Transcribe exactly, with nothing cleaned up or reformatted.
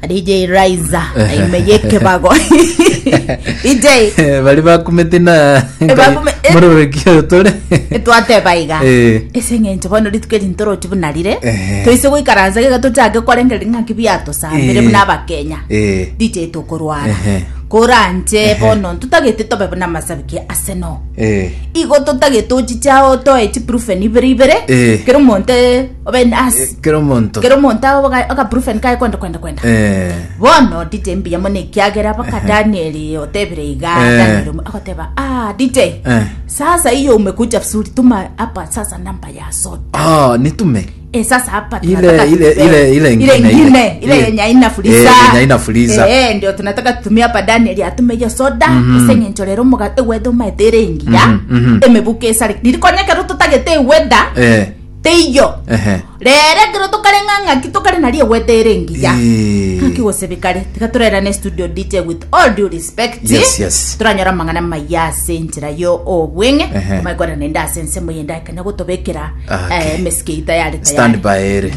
D J Raiza ime yekebago D J. Bari bakumete na Bakume- eh. mororokio tore. Twateba iga Eh. ase eng'encho bono rituko eri ntorochi buna rire, Eh. toise goikaransa gega tochake korengereria ng'aki biatosambire Eh. buna Abakenya. Eh. D J, tokorwara Ehe. koranche bono ntotagete tobe buna masabiki Arsenal. Eh. Igo totagete ochicha otoe chibrufen ibere ibere, Eh. kero omonto obe as Kero omonto. Kero omonto akabrufen kae kwenda kwenda kwenda. Eh. Bono D J, mbuya mono ekiagera baka Daniel otebire iga. Eh. Daniel akoteba, "Ah, D J, Eh. sasa hiyo umekuja vizuri, tuma hapa sasa namba ya soda." Ah, nitume. Eh, sasa hapa Ile- tunataka ile- tupe- ile- ile ile ingine, ingine ile. ile yenye haina fuliza. Eh, yenye haina fuliza. Eh, ndio tunataka tutumie hapa. Daniel atume hiyo soda ase eng'encho rero omogate gwetha omaete ere engiya, Mhm, mhm. emebuko esare nirikonya ekero totagete ewetha Eh. teiyo. Ehe. Rere ekero tokare ng'a ng'aki tokare nari ewetha ere engiya. Eh. Ng'aki gosebekare tiga turerane studio. D J, with all due respect, Yes, yes. turanyora mang'ana maya ase enchera yo obweng'e. Ehe. Maikwana nende ase ensemo yende akanya gotobekera Okay. eh, emesike tayari tayari. Stand by ere.